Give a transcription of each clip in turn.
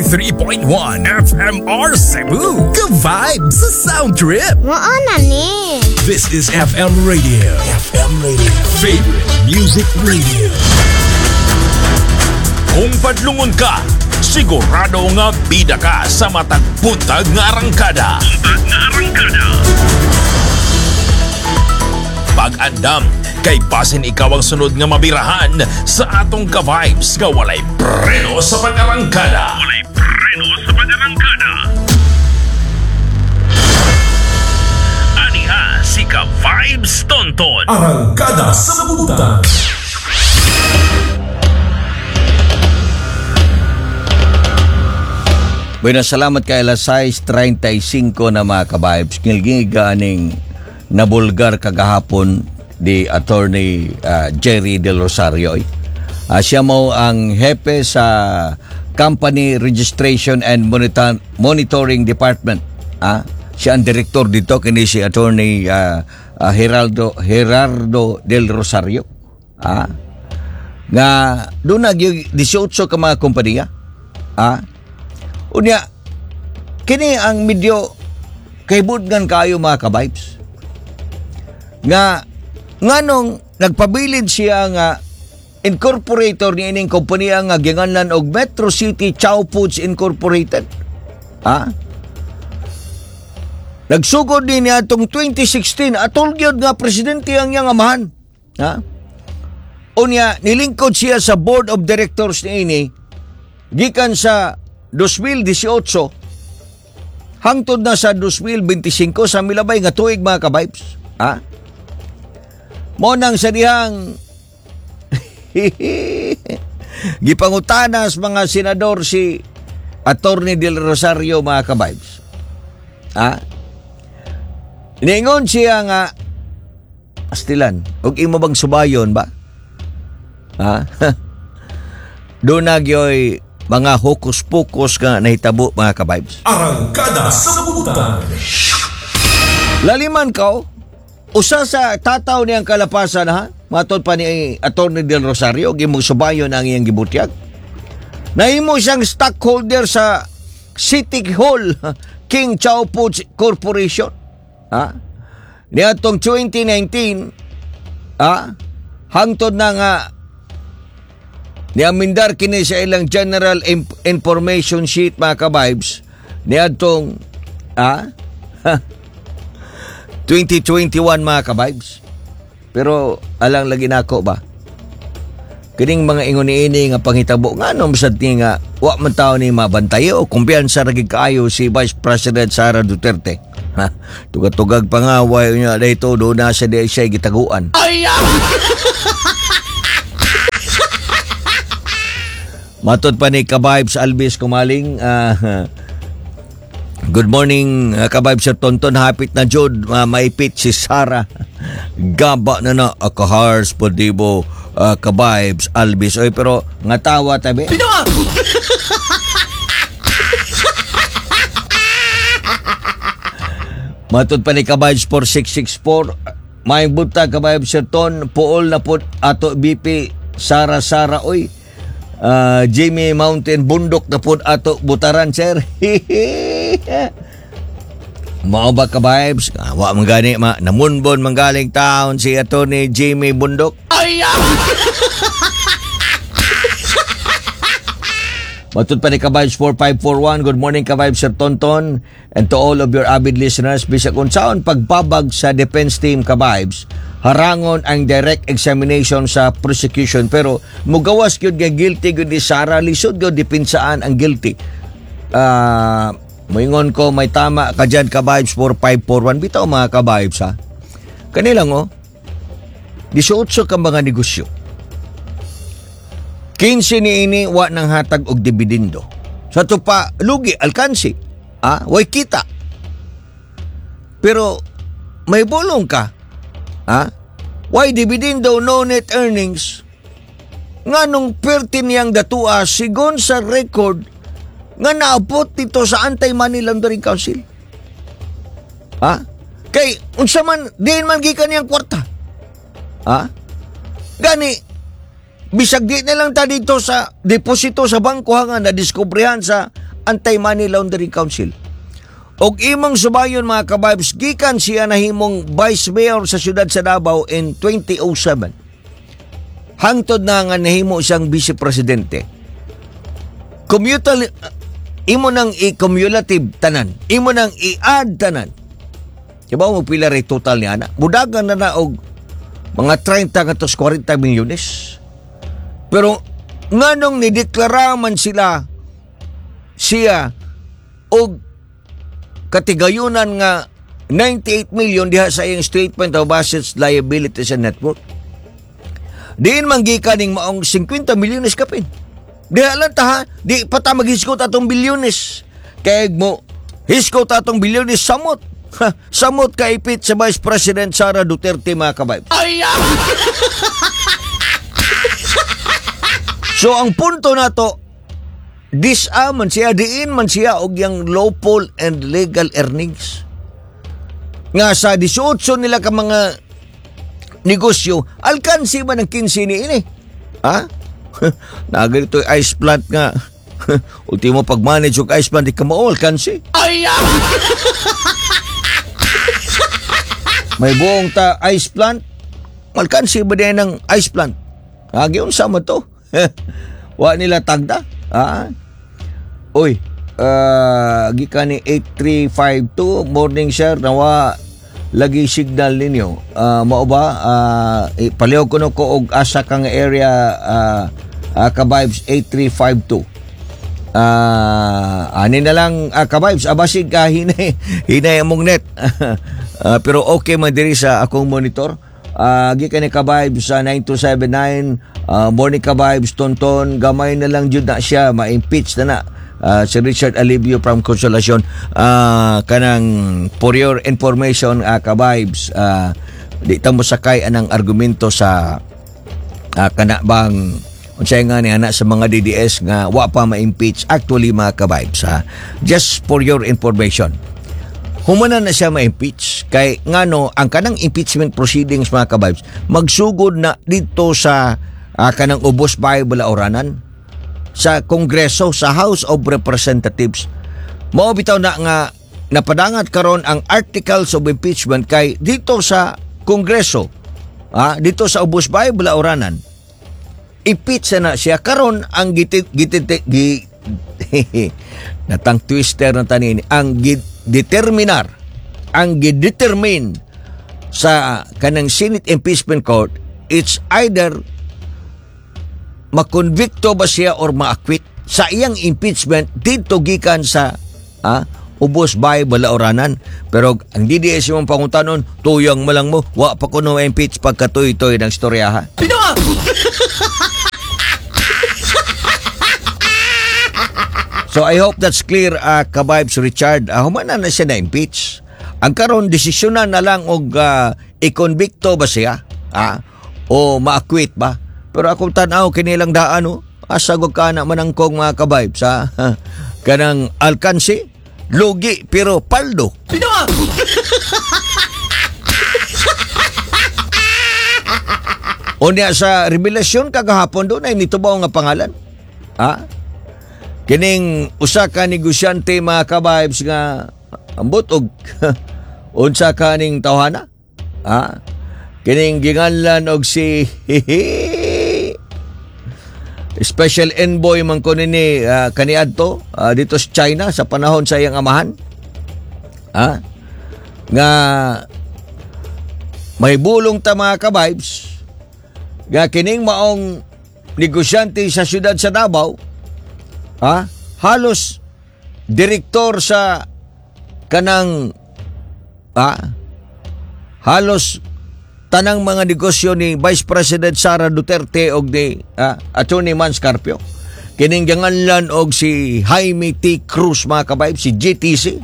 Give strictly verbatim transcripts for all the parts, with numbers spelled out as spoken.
three point one F M R Cebu. Good vibes sa Sound Trip. Mao na ni. This is F M Radio. F M Radio. Favorite Music Radio. Kung padlungon ka, sigurado nga bida ka sa matag buntag nga arangkada. Buntag nga arangkada. Pag-andam, kay basin ikaw ang sunod nga mabirahan sa atong ka-vibes nga walay preno sa pag-arangkada. Walay preno sa pag-arangkada. Aniha si Ka-Vibes Tonton. Arangkada sa buntag. Bueno, salamat kay alas sais trentay singko na, mga ka-vibes. Ngilngig aning nabulgar kagahapon di Attorney ah, Jerry Del Rosario. Ah, siya mo ang hepe sa Company Registration and Monitor- Monitoring Department. Ah, siya ang direktor dito kini si Attorney ah, ah, Geraldo Gerardo Del Rosario. Ah, nga doon na eighteen ka mga kompanya. Ah, unya, kini ang medyo kaibudngan kayo, mga ka-vibes. Nga, nganong nagpabilin siya nga incorporator ni ining kompanya nga ginganlan og Metro City Chow Foods Incorporated. Ha? Nagsugod din niya atong twenty sixteen, atol gyud nga presidente ang iyang amahan. Ha? Unya, nilingkod siya sa board of directors ni ini gikan sa twenty eighteen hangtod na sa twenty twenty-five, sa milabay nga tuig, mga ka-vibes. Ha? Mo nang sa dihang gipangutanas mga senador si Attorney Del Rosario, mga ka-vibes. Ha? Niingon siya nga astilan, og imo bang subayon ba? Ha? Doon na gyoy mga hokus-pokus nga nahitabo, mga ka-vibes. Arangkada sa buntag. Laliman ka, usa sa tataw niyang kalapasan ha, matod pa ni Attorney Del Rosario, gimong subayon ang iyang gibutyag. Nahimo siyang stockholder sa City Hall King Chow Foods Corporation. Ha? Niadtong twenty nineteen, ha? Hangtod na nga niamindar kini sa ilang General Imp- Information Sheet, mga ka-vibes, niadtong ha? twenty twenty-one, mga ka-vibes. Pero alang lagi nako ba? Kining mga ingon niini nga panghitabo, ngano sad ni nga wa man tao ni mabantay o kumpiyansa ra gid kaayo si Vice President Sara Duterte. Ha? Tugag-tugag pa nga way niya dito do na sa di siya gitaguan. Matod pa ni Ka-Vibes Alvis Kumaling, ah, good morning, uh, Ka-Vibes Sir Tonton, hapit na jud uh, maipit si Sara. Gaba na na akahars po dibo, uh, Ka-Vibes Alvis. Oy, pero nga tawa tabi. Matod pa ni Ka-Vibes four six six four, may buntag, Ka-Vibes Sir Ton, puol na po ato B P Sara Sara oy. Ah, Jimmy Mountain bundok na po ato butaran, sir. Mao ba, ka-vibes? Ah, wa man gani ma namunbon man galing taon si Attorney Jimmy Bundok. Matod pa ni Ka-Vibes four five four one, good morning, Ka-Vibes Sir Tonton, and to all of your avid listeners. Bisag unsaon pagbabag sa defense team, Ka-Vibes, harangon ang direct examination sa prosecution, pero mugawas gyud nga guilty gyud ni Sara, lisod gyud depinsaan ang guilty. Ah, moingon ko may tama ka dyan, Ka-Vibes four five four one. Bitaw, mga ka-vibes, ha. Kanilang oh, eighteen ka mga negosyo. fifteen ni ini wa nang hatag og dividendo. Sa ato pa lugi alkansi. Ah, way kita. Pero may bulong ka. Ah? Why dividendo, no net earnings? Nganong perti niyang datua sigon sa record nga naabot dito sa Anti-Money Laundering Council? Ha? Kay unsa man diin man gikan niyang kwarta? Ha? Gani bisag di na lang ta dito sa deposito sa bangko nga nadiskobrehan sa Anti-Money Laundering Council. Og imong subayon, mga kabibes, gikan siya nahimong Vice Mayor sa siyudad sa Davao in two thousand seven. Hangtod na nga nahimo siyang Vice Presidente. Commutal, imo nang i-cumulative tanan. Imo nang i-add tanan. Diba mo pila rin total niya na? Mudagan na na og mga thirty ngadto forty milyones. Pero nganong nideklara man sila siya og katigayunan nga ninety-eight million diha sa iyang statement of assets, liabilities and net worth? Diin man gikan ning maong fifty milyones kapin? Diha lang ta ha, di pa ta maghisgot atong bilyones. Kay mo hisgot atong bilyones, samot. Ha, samot kaipit sa Vice President Sara Duterte, mga kabayb. Ay! So ang punto nato, disa man siya, diin man siya og yang lawful and legal earnings. Nga sa eighteen nila ka mga negosyo, alkansi man ang fifteen ni ini. Ha? Naganito ice plant nga. Ultimo pag-manage og ice plant, di ka mao, alkansi. Ay! May buong ta ice plant, alkansi ba din ng ice plant? Agi unsa man to? Wa nila tagda. Ah. Uy, uh, gikan ni eight three five two, "Morning sir, nawa lagi signal ninyo. Uh, mao ba uh, eh, palihog kuno ko og asa kang area, uh, uh, ka-vibes eight three five two. Ah, ani na lang, uh, ka-vibes, abasig ka hinay hinay among net. Uh, pero okay man diri sa akong monitor. Uh, gikan ni ka-vibes sa nine two seven nine, uh, "Morning ka-vibes Tonton, gamay na lang jud na siya ma-impeach na na." Uh, si Richard Alivio from Consolacion, uh, kanang for your information, uh, ka-vibes, uh, di ta mo sakay anang argumento sa uh, kana bang unsay nga ni ana sa mga D D S nga wa pa ma-impeach. Actually, mga ka-vibes, ha, just for your information, humana na siya ma-impeach kay ngano ang kanang impeachment proceedings, mga ka-vibes, magsugod na dito sa uh, kanang Ubos Bible Oranan sa Kongreso, sa House of Representatives. Mao bitaw na nga napadangat karon ang articles of impeachment kay dito sa Kongreso, ah, dito sa Ubos Bible Oranan, impeach na siya karon. Ang giti, giti, gi, natang twister na tanin ang determinar ang gidetermine sa kanang Senate Impeachment Court, it's either makonbikto ba siya or ma-acquit sa iyang impeachment dito gikan sa ah, Ubos Bay Balaoranan. Pero ang D D S yung pangutanon, tuyang malang mo, wa pa kuno impeach pagkatuy-toy ng istorya ha. Pino! So I hope that's clear, uh, ka-vibes Richard. Uh, humana na siya na-impeach. Ang karon desisyonan na lang og uh, ikonbikto ba siya? Ah, o ma-acquit ba? Pero akong tan-aw kinilang daan oh. Asa gud ka na manangkong, mga ka-vibes ha. Kanang alkansi, lugi pero paldo. Pino! Unya sa revelasyon kagahapon doon ay nitubaw nga pangalan. Ha? Kining usa ka negosyante, mga ka-vibes, nga ambot og unsa ka ning tawhana? Ha? Kining ginganlan og si special envoy man ko nini uh, kaniadto uh, dito sa China sa panahon sa iyang amahan. Ha? Nga may bulong ta, mga ka-vibes, nga kining maong negosyante sa siyudad sa Davao, ha, halos direktor sa kanang ha, halos tanang mga negosyo ni Vice President Sara Duterte og ni ah, Attorney Mans Carpio. Kining ganganlan og si Jaime T. Cruz, mga kabayb, si J T C,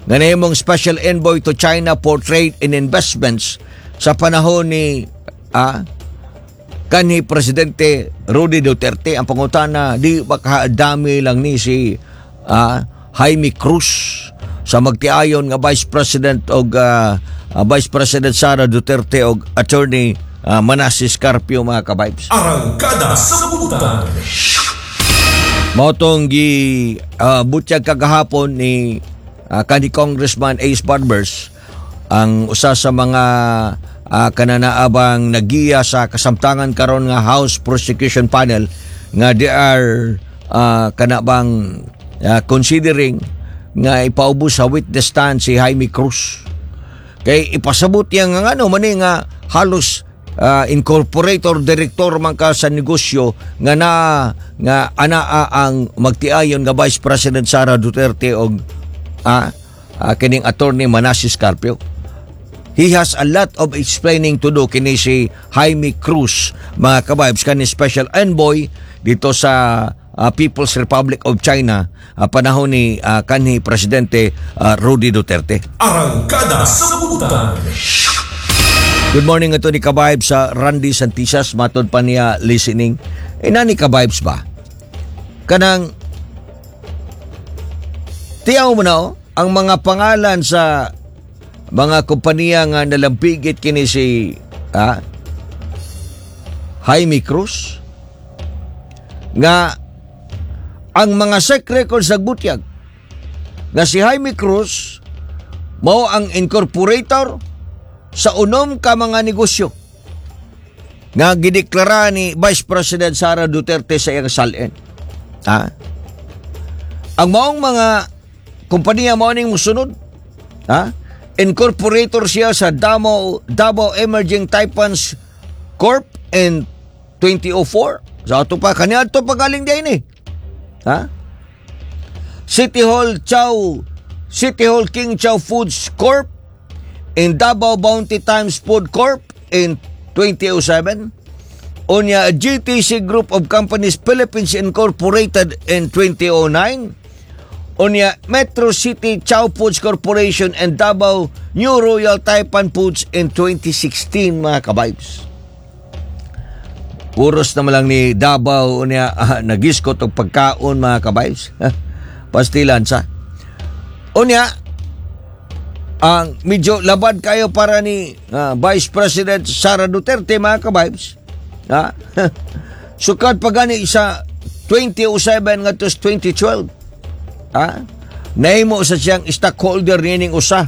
nga nahimong special envoy to China for trade and investments sa panahon ni ah, kanhi Presidente Rody Duterte. Ang pangutana, di ba dami lang ni si ah, Jaime Cruz sa magtiayon nga Vice President og ah, ah, Vice President Sara Duterte og Attorney uh, Manasis Carpio, mga kabibes? Arangkada sa Butan. Mao tong gi uh, butyag kagahapon ni uh, kanhi Congressman Ace Barbers, ang usa sa mga uh, kananaabang nagiya sa kasamtangan karon nga House Prosecution Panel nga they are uh, kanabang uh, considering nga ipaubos sa witness stand si Jaime Cruz. Kay ipasabot niya nga ano man nga halos uh, incorporator director man ka sa negosyo nga na nga anaa ang magtiayon nga Vice President Sara Duterte og ah, uh, kining Attorney Manasis Carpio. He has a lot of explaining to do kini si Jaime Cruz, mga kabibes, kani special envoy dito sa uh, People's Republic of China uh, panahon ni uh, kanhi Presidente uh, Rody Duterte. Arangkada sa Butang. Good morning ito ni Kabibes sa Randy Santisas, matod pa niya listening. Eh nani Kabibes ba? Kanang tiyaw mo na oh, ang mga pangalan sa mga kompanya nga nalampigit kini si ah, Jaime Cruz nga ang mga S E C records nagbutyag nga si Jaime Cruz mao ang incorporator sa unom ka mga negosyo nga gideklara ni Vice President Sara Duterte sa iyang S A L N. Ha? Ang maong mga kompanya mao ning musunod. Ha? Incorporator siya sa Davao, Davao Emerging Taipans Corp in two thousand four. Sa ato pa, kaniadto pa galing din eh. Ha? City Hall Chow, City Hall King Chow Foods Corp in Davao Bounty Times Food Corp in two thousand seven. Unya, G T C Group of Companies Philippines Incorporated in two thousand nine. Unya, Metro City Chow Foods Corporation and Davao New Royal Taipan Foods in twenty sixteen, mga kabibes. Puros naman lang ni Davao unya ah, nagiskot og pagkaon, mga kabibes. Pastilan sa. Unya, ang medyo labad kayo para ni ah, Vice President Sara Duterte, mga kabibes. Ha? Sukad pa gani sa two thousand seven ngadto sa twenty twelve. Ha? Nahimo sa siyang stockholder nining usa.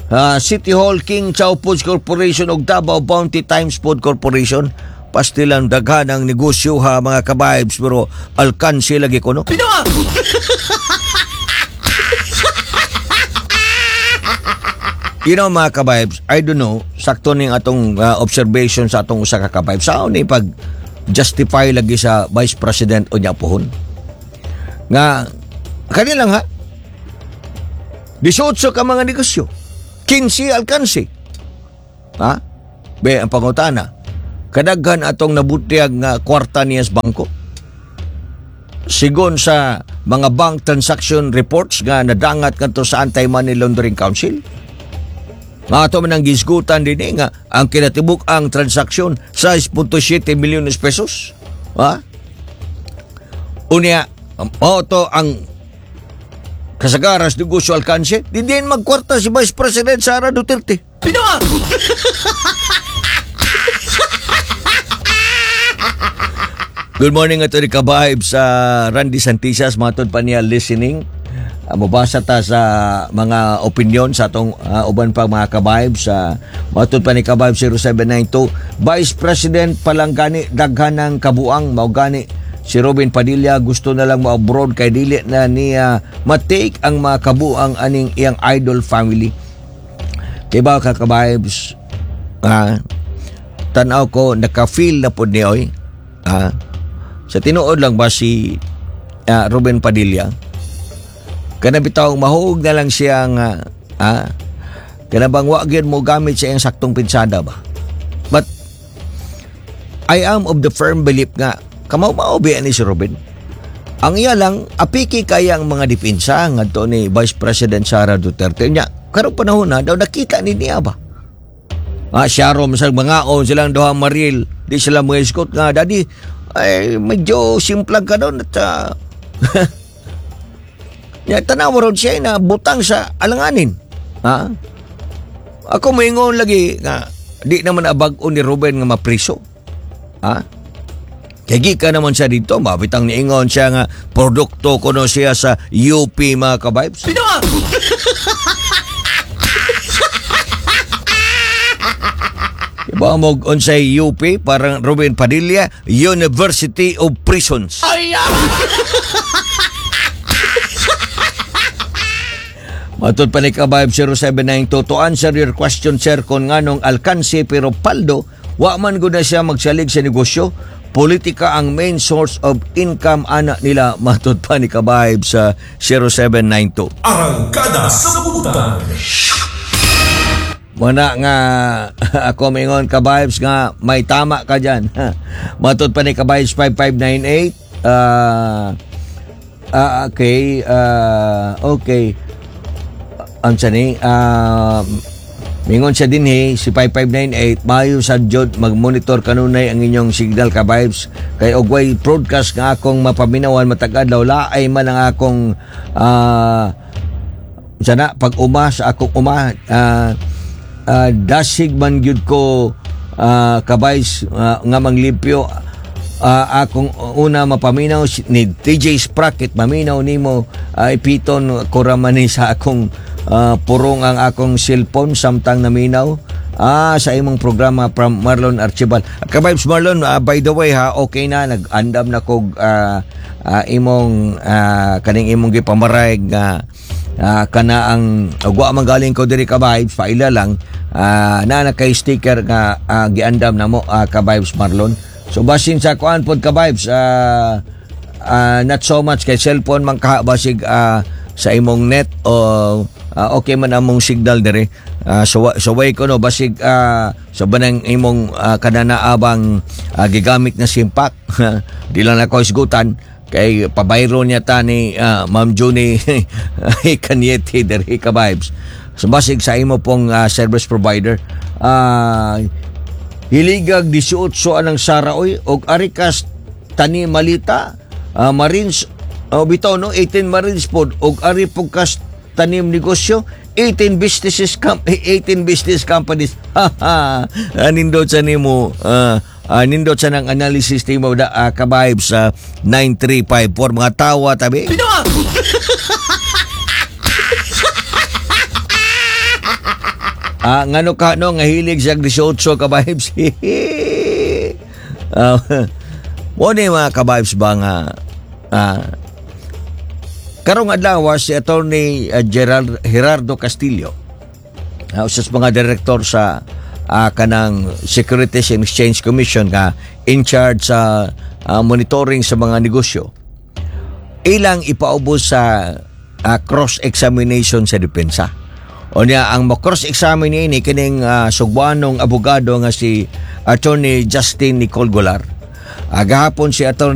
Ah, City Hall King Chow Foods Corporation ug Davao Bounty Times Food Corporation. Pastilan daghan ang negosyo ha, mga kabibes, pero alkansi lagi ko no. Pinoa! You know, mga kabibes, I don't know, sakto ning atong uh, observation sa atong usa ka kabibes. Sao ni pag justify lagi sa Vice President o niya pohon? Nga, kanilang ha, eighteen ka mga negosyo, fifteen alkansi. Ha? Be, ang pangutana, kadaghan atong nabutiyag nga kwarta niya sa bangko. Sigon sa mga bank transaction reports nga nadangat ngadto sa Anti-Money Laundering Council, nga ato man ang gisgutan din eh, nga ang kinatibuk ang transaksyon six point seven milyones pesos. Ha? Unya, mao to ang kasagaras negosyo alkanse, di din magkwarta si Vice President Sara Duterte. Pinoa! Good morning ato ni Kabaib sa Randy Santisas, matod pa niya listening. Uh, mabasa ta sa mga opinion sa atong uh, uban pa mga kabaib sa matod pa ni Kabaib zero seven nine two, Vice President palang gani daghan ng kabuang, mao gani si Robin Padilla gusto na lang mo-abroad kay dili na niya matake ang mga kabuang aning iyang idol family. Kay ba ka kabibes, ah, tan-aw ko naka-feel na pod ni oy. Ah, sa tinuod lang ba si ah, Robin Padilla kana bitaw mahuog na lang siya nga ah, kana bang wa gyud mo gamit sa iyang saktong pinsada ba? But I am of the firm belief nga kamao-mao biya ni si Robin. Ang iya lang apiki kaya ang mga depensa ngadto ni Vice President Sara Duterte nya karong panahon na daw nakita ni niya ba. Ah, siya ro masag mangaon silang duha Mariel, di sila mga iskot nga daddy ay medyo simplag ka doon at uh, ya, tanaw ron siya na butang sa alanganin. Ha? Ako moingon lagi nga di naman abag-o ni Ruben nga mapriso. Ha? Kay gikan naman siya dito, mabitang niingon siya nga produkto kuno siya sa U P, mga ka-vibes. Bitaw! Iba mo unsay U P, parang Ruben Padilla, University of Prisons. Ay! Matod pa ni ka-vibe zero seven nine two, to answer your question, sir, kung nganong alkanse pero paldo, wa man gud na siya magsalig sa negosyo, politika ang main source of income ana nila. Matod pa ni ka-vibe sa zero seven nine two. Arangkada sa Butang. Muna nga ako mingon, ka-vibes, nga may tama ka dyan. Matod pa ni ka-vibes five five nine eight, ah ah, okay, ah, okay. Unsa ni? Ah, mingon siya din eh, si five five nine eight, maayo sa jud mag-monitor kanunay ang inyong signal, ka-vibes, kay og way broadcast nga akong mapaminawan matag adlaw, laay man ang akong ah sana pag uma sa akong uma, ah, ah, dasig man gyud ko, ah, ka-vibes, ah, nga manglimpyo. Ah, akong una mapaminaw si- ni T J Sprocket, maminaw nimo, uh, ipiton ko ra man ni sa akong ah, purong ang akong cellphone samtang naminaw ah sa imong programa, from Marlon Archibald. Ka-vibes Marlon, ah, by the way ha, okay na, nag-andam na kog ah, ah, imong ah, kaning imong gipamaray nga ah, kana ang ugwa man galing ko diri, ka-vibes, paila lang ah, na na kay sticker nga ah, giandam na mo, ah, ka-vibes Marlon. So basin sa kuan pod, ka-vibes, ah, ah, not so much kay cellphone man ka, basig ah, sa imong net o ah, okay man among signal dire. Ah, so so way ko no, basig ah, sa banang imong uh, kananaabang ah, gigamit na simpak, di lang ako isgutan kay pabayro niya ta ni ah, Ma'am Junie Cañete diri, ka-vibes. So basig sa imo pong ah, service provider. Ah, hiligag eighteen anang Sara oy og arikas tani malita ah, Marines, oh, bitaw no, eighteen Marines pod og ari pug kas tanim negosyo, eighteen businesses com eighteen business companies. Nindot sa nimo, ah, ah, nindot sa nang analysis nimo da, uh, ka-vibes sa nine three five four, mga tawa tabi. Bitaw! Ah, ngano ka no nga hilig sa eighteen, ka-vibes. Ah, mo ni mga ka-vibes ba nga ah, karong adlaw si Attorney uh, Gerald Gerardo Castillo, uh, usa sa mga direktor sa ah, kanang Securities and Exchange Commission nga in charge sa ah, monitoring sa mga negosyo, ilang ipaubos sa ah, cross-examination sa depensa. O niya, ang mo-cross-examine ini kining uh, sugwanong abogado nga si Attorney Justin Nicole Golar. Uh, gahapon si Attorney